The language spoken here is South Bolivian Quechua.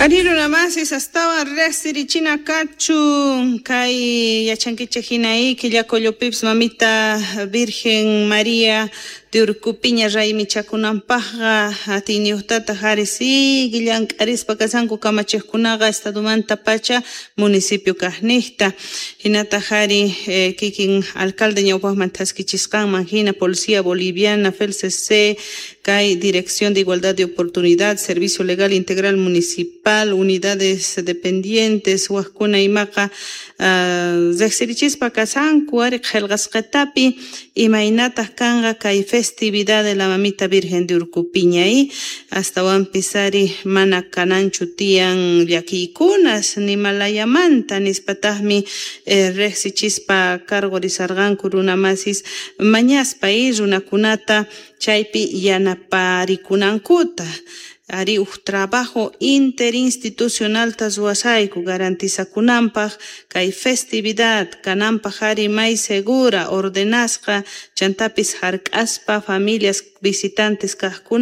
Ari runamasis astawan riqsirichina kachun kay yachankichik hina Quillacollopipis mamita Virgen María de Urcupiña raymichakunanpaqqa atiyniyuqtataq ari sigue llank'arispa kashanku kamachiqkunaqa estadomanta pacha municipio kaqniqta hinataq ari kikin alcalde ñawpaqman thaskichisqanman hina Policía Boliviana, FELCC, kay Dirección de Igualdad de Oportunidad, Servicio Legal Integral Municipal, unidades dependientes, waqkuna imaqa riqsirichispa kashanku ari qillqasqatapi imaynataq kanqa kay festividad de la Mamita Virgen de Urcupiña astawanpis ari mana kananchu tiyan llakiykunas nimalayamanta nispataqmi riqsichispa cargorisarqanku runamasis mañaspa runakunata chaypi yanaparikunankuta ari uj trabajo interinstitucionalta ruwasayku garantizakunanpaq kay festividad kananpaq ari may segura ordenasqa chantapis hark'aspa familias visitantes kaqkunata.